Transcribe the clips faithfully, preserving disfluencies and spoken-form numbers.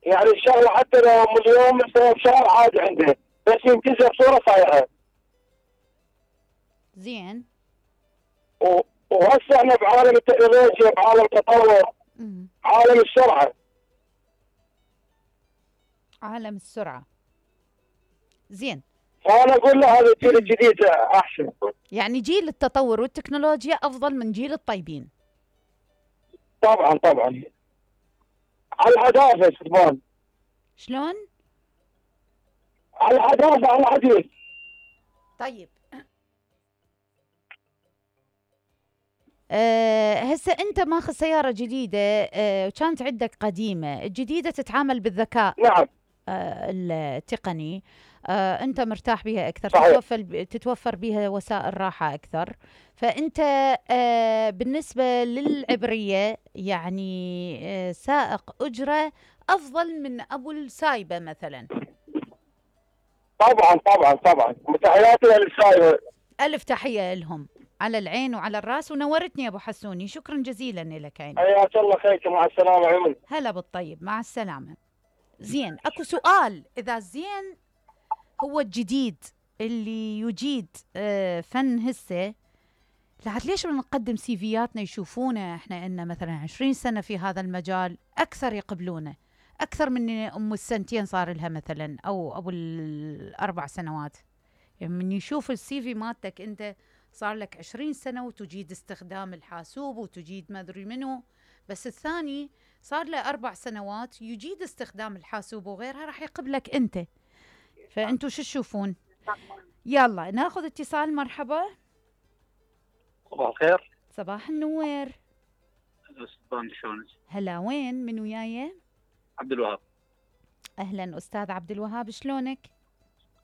يعني الشغله حتى لو مليون مثلا بشهر عادي عنده، بس ينتزع بصوره صايعه. زين. و- وهسه احنا بعالم التكنولوجيا، بعالم التطور، مم. عالم السرعه. عالم السرعة. زين. فانا اقول له هذا الجيل الجديد احسن. يعني جيل التطور والتكنولوجيا افضل من جيل الطيبين. طبعا طبعا. على الحداثه سلمان. شلون؟ على الحداثه على الحديث. طيب. أه هسه انت ماخذ سياره جديده، أه وكانت عندك قديمه، الجديده تتعامل بالذكاء نعم. أه التقني، أه انت مرتاح بها اكثر، صحيح. تتوفر تتوفر بها وسائل راحه اكثر. فانت أه بالنسبه للعبريه يعني أه سائق اجره افضل من ابو السايبه مثلا. طبعا طبعا طبعا، وتحياتي للسايبه. الف تحيه لهم، على العين وعلى الراس، ونورتني يا ابو حسوني، شكرا جزيلا لك عيني. حياك الله خيك، مع السلامه عيوني. هلا بالطيب، مع السلامه. زين، اكو سؤال، اذا زين هو الجديد اللي يجيد آه فن هسه، لعد ليش نقدم سيفياتنا يشوفونا احنا ان مثلا عشرين سنه في هذا المجال اكثر يقبلونه اكثر من ام السنتين صار لها مثلا، او ابو الاربع سنوات. يعني من يشوف السي في مالتك انت صار لك عشرين سنه وتجيد استخدام الحاسوب وتجيد ما ادري منو، بس الثاني صار له اربع سنوات يجيد استخدام الحاسوب وغيرها، راح يقبلك انت. فانتوا شو تشوفون؟ يلا ناخذ اتصال. مرحبا. صباح الخير. صباح النور. سلطان شلونك؟ هلا، وين من وياي؟ عبد الوهاب. اهلا استاذ عبد الوهاب، شلونك؟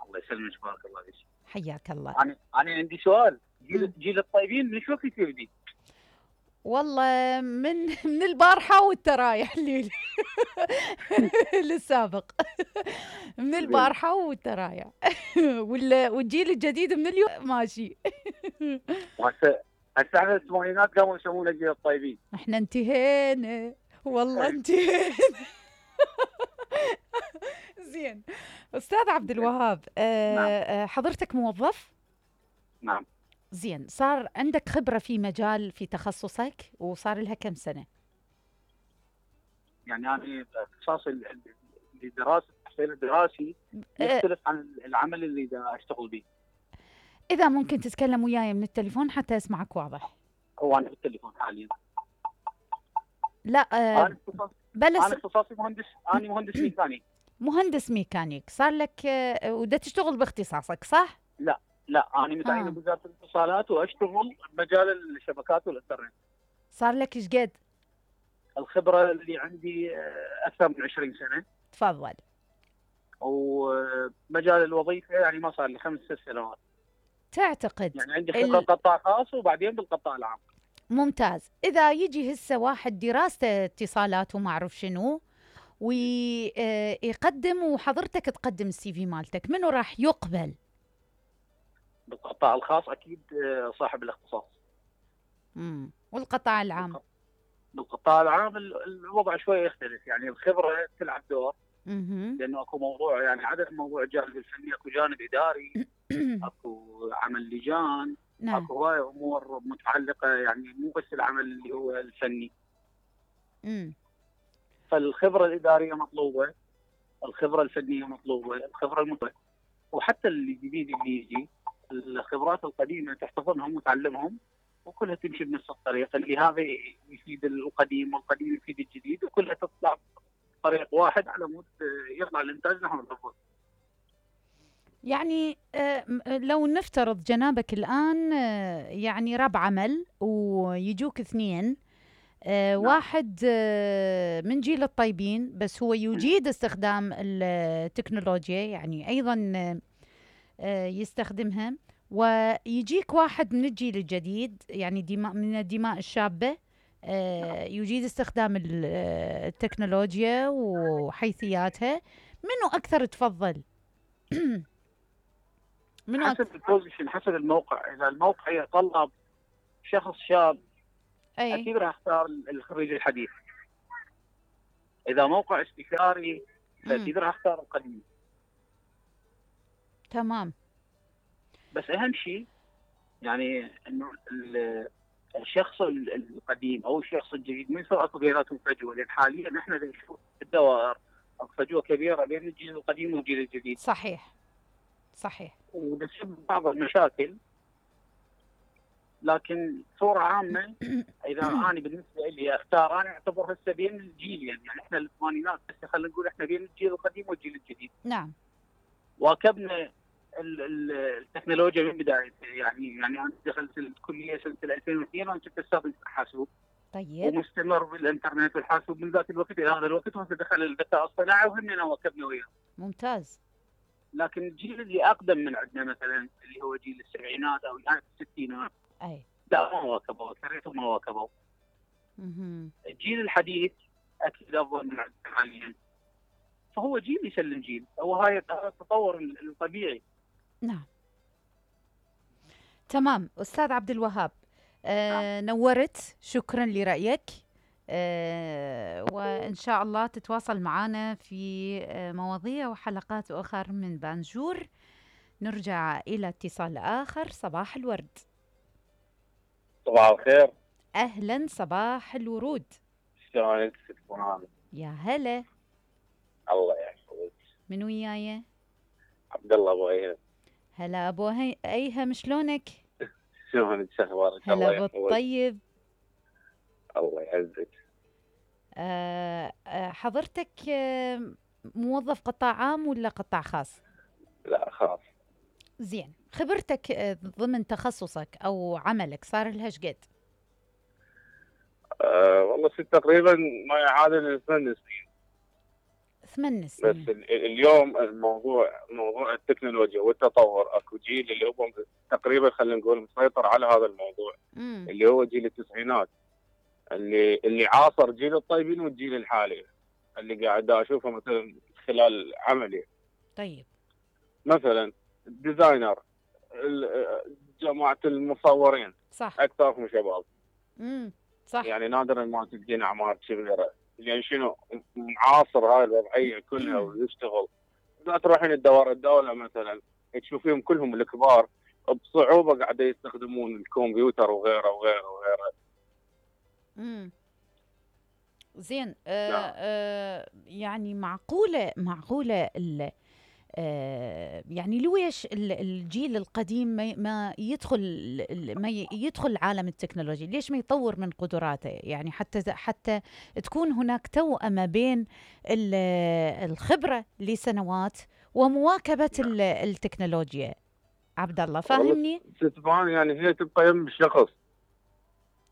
الله يسلمك، بارك الله فيك. حياك الله. انا انا عندي سؤال، جيل جيل الطيبين من شو في جديد؟ والله من من البارحه والترايح اللي للسابق. من البارحه والترايح. والجيل الجديد من اليوم ماشي. هسه هسه احنا الثمانينات قاموا يسمونا جيل الطيبين. احنا انتهينا والله، انتهينا. زين استاذ عبد الوهاب، آه نعم. حضرتك موظف؟ نعم. زين، صار عندك خبره في مجال في تخصصك وصار لها كم سنه؟ يعني انا اختصاصي لدراسه التحصيل الدراسي يختلف عن العمل اللي دا اشتغل به. اذا ممكن تتكلم وياي من التليفون حتى اسمعك واضح. هو انا بالتليفون حاليا. لا آه انا اختصاصي بلس انا اختصاصي مهندس، انا مهندس ميكانيك. مهندس ميكانيك، صار لك آه ودا تشتغل باختصاصك صح؟ لا لا، انا متعين آه. بوزاره الاتصالات واشتغل بمجال الشبكات والانترنت. صار لك ايش قد؟ الخبره اللي عندي اكثر من عشرين سنه. تفضل. ومجال الوظيفه يعني ما صار لي خمس ست سنوات. تعتقد يعني عندي خبره ال... قطاع خاص وبعدين بالقطاع العام. ممتاز. اذا يجي هسه واحد دراسته اتصالات وما اعرف شنو ويقدم وحضرتك تقدم السي في مالتك، منو راح يقبل؟ بالقطاع الخاص اكيد صاحب الاختصاص. امم والقطاع العام؟ بالقطاع العام الوضع شويه يختلف، يعني الخبره تلعب دور. اها. لانه اكو موضوع، يعني عدد موضوع الجانب الفني، اكو جانب اداري، اكو عمل لجان، نعم. اكو هواي امور متعلقه، يعني مو بس العمل اللي هو الفني. امم فالخبره الاداريه مطلوبه، الخبره الفنيه مطلوبه، الخبره المطلوبه، وحتى اللي جديد اللي يجي الخبرات القديمه تحتفظهم وتعلمهم، وكلها تمشي بنفس الطريقه، اللي هذا يفيد القديم والقديم يفيد الجديد، وكلها تطلع طريق واحد على مود يطلع الانتاج نحو الافضل. يعني لو نفترض جنابك الان يعني رب عمل ويجوك اثنين، آه نعم. واحد آه من جيل الطيبين بس هو يجيد استخدام التكنولوجيا، يعني أيضا آه يستخدمها، ويجيك واحد من الجيل الجديد يعني دماء من الدماء الشابة آه يجيد استخدام التكنولوجيا وحيثياتها، منو أكثر تفضل؟ منو حسب البوزيشن، حسب الموقع. إذا الموقع يتطلب شخص شاب أي. أكيد راح أختار الخريج الحديث. اذا موقع استشاري مم. فاكيد راح اختار القديم. تمام. بس اهم شيء يعني انه ال- الشخص ال- القديم او الشخص الجديد من سرعه بيناتهم فجوه، لان حاليا احنا نشوف الدوائر فجوه كبيره بين الجيل القديم والجيل الجديد، صحيح صحيح. وتسبب بعض المشاكل. لكن صوره عامه اذا انا بالنسبه لي اختار، انا اعتبر هسه بين الجيلين، يعني احنا الثمانينات هسه خلينا نقول احنا بين الجيل القديم والجيل الجديد. نعم. واكبنا ال- ال- التكنولوجيا من بدايتها، يعني يعني انا دخلت الكليه سنه ألفين واثنين وانا كنت استاذ حاسوب، طيب. ومستمر بالانترنت والحاسوب من ذاك الوقت الى هذا الوقت، وهسه دخل الذكاء الصناعي وهمنا واكبنا وياه. ممتاز. لكن الجيل اللي اقدم من عندنا مثلا اللي هو جيل السبعينات او يعني الستينات، اي. لا ما واكبوا، كرهتهم ما واكبوا. مهم. الجيل الحديث اكيد افضل من عندنا حاليا، فهو جيل يسلم جيل، هو هاي هذا التطور الطبيعي. نعم. تمام أستاذ عبد الوهاب، آه نورت، شكرا لرأيك، آه وإن شاء الله تتواصل معنا في آه مواضيع وحلقات أخرى من بانجور. نرجع إلى اتصال آخر. صباح الورد. صباح الخير. أهلا، صباح الورود. شلونك ست فرحان؟ يا هلا. الله يحفظك. من وياي؟ عبد الله ابو ايهم. هلا أبو هي... أيهم، شلونك؟ شلونك شو اخبارك؟ هلا الله أبو يحفظك. الطيب. الله يعزك. آه آه حضرتك آه موظف قطاع عام ولا قطاع خاص؟ لا خلاص. زين، خبرتك آه ضمن تخصصك أو عملك صار لها ايش قد؟ أه والله ست تقريبا ما يعادل ثمان سنين. ثمان بس سنين. ال- اليوم الموضوع موضوع التكنولوجيا والتطور، اكو جيل اللي هو تقريبا خلينا نقول مسيطر على هذا الموضوع، مم. اللي هو جيل التسعينات، اللي اللي عاصر جيل الطيبين والجيل الحالي اللي قاعد اشوفه مثلا خلال عملي. طيب. مثلا الديزاينر، ال- جماعه المصورين صح. اكثرهم شباب. امم صح. يعني نادرا ما تلقين اعمار كبيره، يعني شنو معاصر هاي الوضعيه كلها ويشتغل. اذا تروحين الدوار الدوله مثلا تشوفيهم كلهم الكبار بصعوبه قاعده يستخدمون الكمبيوتر وغيره وغيره وغيره. امم زين. آه نعم. آه يعني معقولة معقولة ال آه يعني ليش ال- الجيل القديم ما ما يدخل ال- ما ي- يدخل عالم التكنولوجيا؟ ليش ما يطور من قدراته؟ يعني حتى حتى تكون هناك توأمة بين ال- الخبرة لسنوات ومواكبة ال- التكنولوجيا. عبد الله فاهمني؟ ستفان يعني هي تبقى يم الشخص.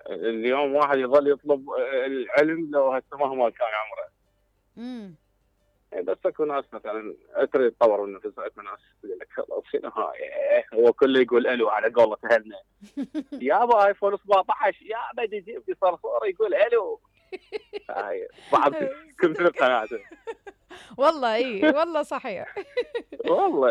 اليوم واحد يظل يطلب العلم لو هسه مهما كان عمره. امم بس اكو ناس مثلا تريد تطور من نفسها، اكو ناس يقول لك خلاص شنو هاي، هو كله يقول الو على قولة اهلنا. يابا ايفون سبعة عشر يابا يجيب لي صرصور يقول الو. هاي بعض كثر قناعته. والله اي والله صحيح. والله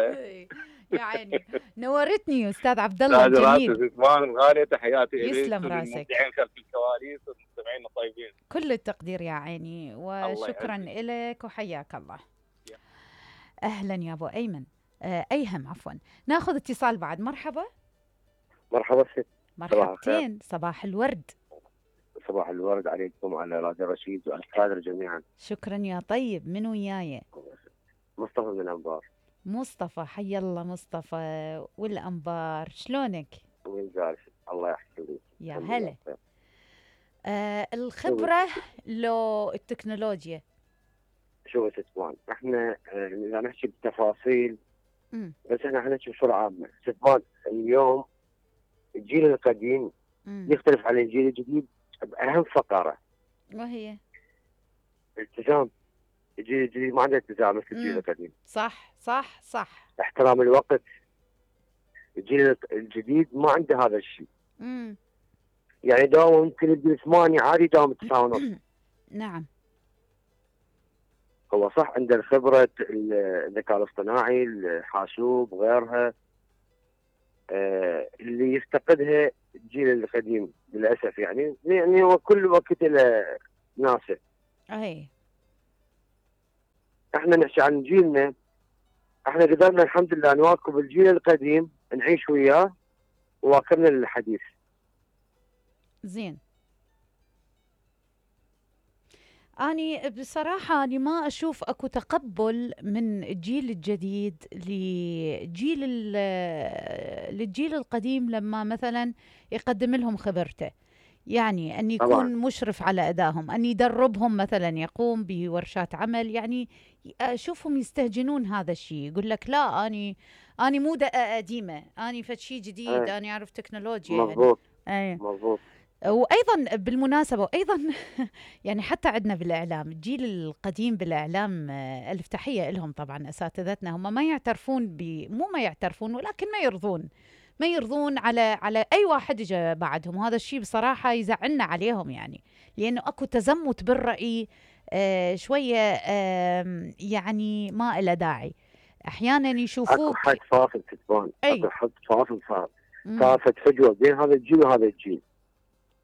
يا عيني، نورتني استاذ عبد الله تاج راسي الجميل. زمان الغاليه، تحياتي اليك يسلم راسك. والمبدعين خلف الكواليس والمستمعين الطيبين. كل التقدير يا عيني، وشكرا لك وحياك الله. اهلا يا ابو ايمن. آه ايهم عفوا. ناخذ اتصال بعد. مرحبا. مرحبا ست. مرحبتين، صباح الورد. صباح الورد عليكم وعلى راديو رشيد والكادر جميعا. شكرا يا طيب. من وياي؟ مصطفى من الانبار. مصطفى، حي الله مصطفى والانبار، شلونك؟ وين جالس؟ الله يحفظك. يا هلا. آه الخبره لو التكنولوجيا؟ شوف ست فان، احنا آه، اذا نحكي بالتفاصيل مم. بس احنا حنحكي بصوره عامه. ست فان، اليوم الجيل القديم مم. يختلف عن الجيل الجديد باهم فقره، وهي الالتزام. الجيل الجديد ما عنده التزام مثل الجيل مم. القديم. صح صح صح. احترام الوقت. الجيل الجديد ما عنده هذا الشيء. مم. يعني داوم ممكن يدي ثمانية عادي، داوم تسعة ونص. نعم. هو صح عنده الخبرة، الذكاء الاصطناعي، الحاسوب غيرها، آه اللي يفتقدها الجيل القديم للأسف. يعني يعني هو كل وقت له ناسه. اي. احنا نحكي عن جيلنا، احنا قدرنا الحمد لله نواكب الجيل القديم، نعيش وياه وواكبنا للحديث. زين. أني بصراحة أني ما أشوف أكو تقبل من الجيل الجديد لجيل للجيل القديم لما مثلا يقدم لهم خبرته، يعني أن يكون طبعاً. مشرف على أدائهم، أن يدربهم مثلا، يقوم بورشات عمل. يعني أشوفهم يستهجنون هذا الشيء، يقول لك لا أني أني مو دقة قديمة، أني فد شيء جديد، أي. أني أعرف تكنولوجيا. مضبوط. يعني. مضبوط. وايضا بالمناسبه وايضا يعني حتى عندنا بالاعلام الجيل القديم بالاعلام، الف تحيه لهم طبعا اساتذتنا، هم ما يعترفون ب مو ما يعترفون ولكن ما يرضون ما يرضون على على اي واحد اجى بعدهم. وهذا الشيء بصراحه يزعلنا عليهم، يعني لانه اكو تزمت بالراي آه شويه آه يعني ما له داعي. احيانا يشوفوك اكو حد فاصل تتبان، أي. اكو حد فاصل صار، صارت فجوه بين هذا الجيل وهذا الجيل.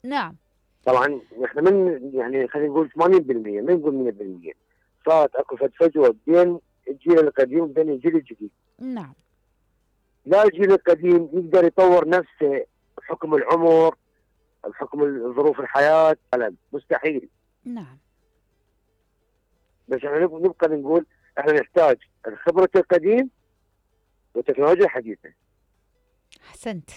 نعم. طبعا احنا من يعني خلينا نقول ثمانين بالمئة، ما نقول مئة بالمئة، صارت اكو فجوه بين الجيل القديم وبين الجيل الجديد. نعم. لا الجيل القديم يقدر يطور نفسه بحكم العمر، بحكم ظروف الحياه، لا مستحيل. نعم. بس احنا نبقى نقول احنا نحتاج خبره القديم والتكنولوجيا الحديثه. احسنت،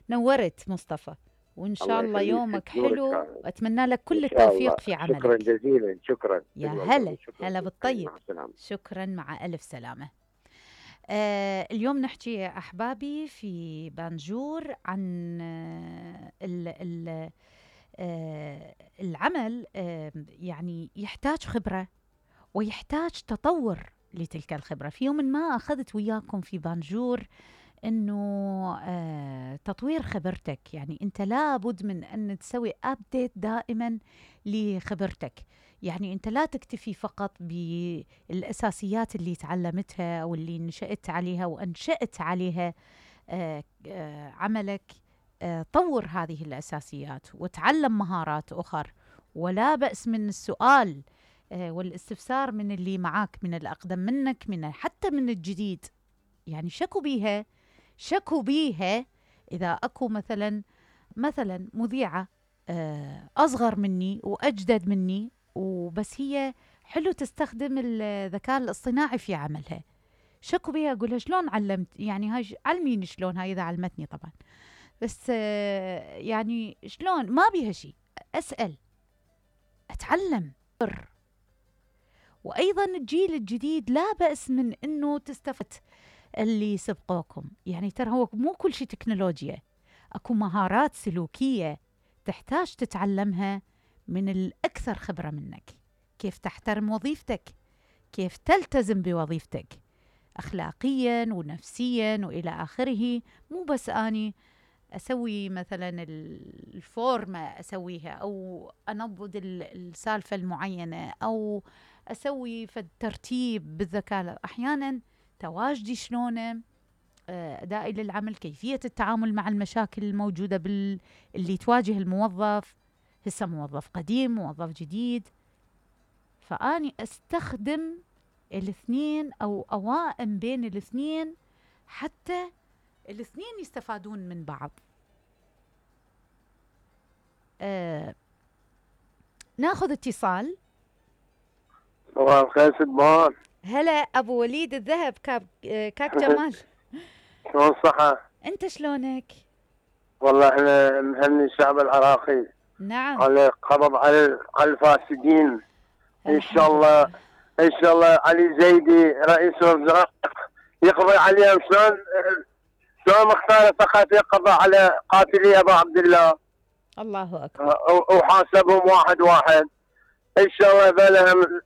نورت مصطفى، وإن شاء الله يومك حلو، وأتمنى لك كل التوفيق في عملك. شكرا جزيلا. شكرا. يا هلا هلا بالطيب. شكرا، مع ألف سلامة. آه اليوم نحكي يا أحبابي في بانجور عن آه ال ال آه العمل. آه يعني يحتاج خبرة ويحتاج تطور لتلك الخبرة. في يوم ما أخذت وياكم في بانجور انه آه تطوير خبرتك، يعني انت لابد من ان تسوي ابديت دائما لخبرتك. يعني انت لا تكتفي فقط بالاساسيات اللي تعلمتها او اللي نشأت عليها وانشأت عليها آه آه عملك. آه طور هذه الاساسيات وتعلم مهارات اخر، ولا بأس من السؤال آه والاستفسار من اللي معاك، من الاقدم منك، من حتى من الجديد. يعني شكوا بيها شكوا بيها إذا أكو مثلا مثلا مذيعة أصغر مني وأجدد مني، وبس هي حلو تستخدم الذكاء الاصطناعي في عملها، شكوا بيها أقولها شلون علمت، يعني هاي علميني شلون، هاي إذا علمتني طبعا، بس يعني شلون، ما بيها شيء، أسأل أتعلم. وأيضا الجيل الجديد لا بأس من أنه تستفد اللي سبقوكم، يعني ترى هو مو كل شيء تكنولوجيا، أكو مهارات سلوكية تحتاج تتعلمها من الأكثر خبرة منك. كيف تحترم وظيفتك، كيف تلتزم بوظيفتك أخلاقيا ونفسيا وإلى آخره. مو بس أني أسوي مثلا الفورمة أسويها، أو أنضد السالفة المعينة، أو أسوي في الترتيب بالذكاء. أحيانا تواجدي شلونه، أدائي للعمل، كيفية التعامل مع المشاكل الموجودة بال... اللي تواجه الموظف، هسه موظف قديم موظف جديد، فأني أستخدم الاثنين أو أوائم بين الاثنين حتى الاثنين يستفادون من بعض. آه... ناخذ اتصال. صباح الخير سبحان. هلا أبو وليد الذهب، كاب كاك جمال. شلون الصحة؟ أنت شلونك؟ والله احنا نهني الشعب العراقي. نعم. على قبض على على الفاسدين. إن شاء الله إن شاء الله علي زيدي رئيس الوزراء يقضي عليهم. شلون شلون مختار فقط يقضي على قاتلي أبو عبد الله. الله أكبر. وحاسبهم واحد واحد. إن شاء الله بلهم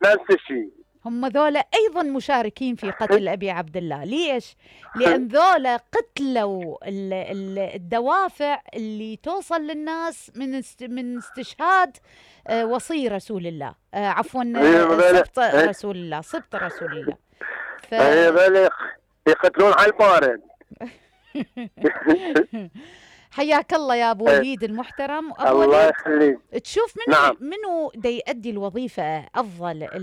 نفس الشيء. هم ذولا أيضا مشاركين في قتل أبي عبد الله. ليش؟ لأن ذولا قتلوا الدوافع اللي توصل للناس من من استشهاد وصي رسول الله، عفوا سبط رسول الله سبط رسول الله. ف... يقتلون على البارد. حياك الله يا أبو وليد المحترم. أبو الله يخليك. تشوف منو نعم. منو دا يؤدي الوظيفة أفضل؟